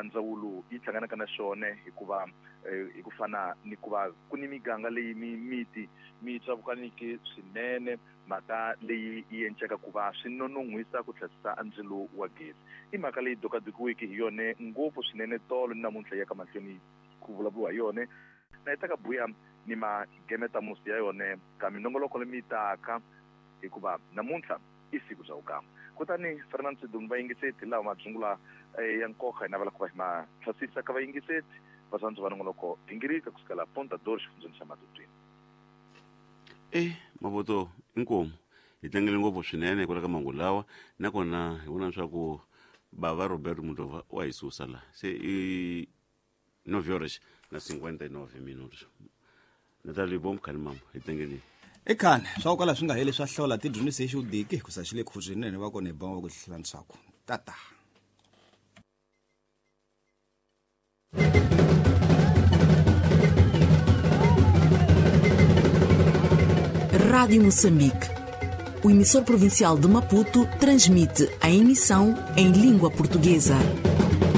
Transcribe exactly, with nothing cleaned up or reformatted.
ndzawulo yi hlanganaka na xona hikuva hi ku fana ni ku va ku ni miganga leyi miti mi tsavukaniki swinene mhaka leyi yi enceka ku va swi nonon'hwisa ku tlhasisa ndzilo wa gezi i mhaka leyi dokadokiweke hi yona ngopfu swinene tolo ni namuntlha ya ka mahlweni ku vulavuriwa hi yona na yi ta ka buya ni magemeta musi ya yona ka minongoloko leyi taka hikuva namuntlha i siku bya vukamba kutani Fernand Sidumba vayingiseti lawa madzungula ya nkoka hi navela ku va hi ma tlhasisa ka vayingiseti vatsandzi va nongoloko gingirika kusukela Ponta Dor xifundzeni xa Matutuini. E mavoto inkomu hi tlangele ngopfu swinene hikwalaho ka mangu lawa nakona hi vona leswaku bava Roberto Mutova wa hi susa la se i nove horas na cinquenta e nove minutos Natalie Bom Khalimambo hi tlangeleni ekhane swa ku kala swi nga heli swa hlola tidyondzisi hi xudiki ku sa xi le khuzwinene va kona hi bonga ku hlantswaku tata. Rádio Moçambique. O emissor provincial de Maputo transmite a emissão em língua portuguesa.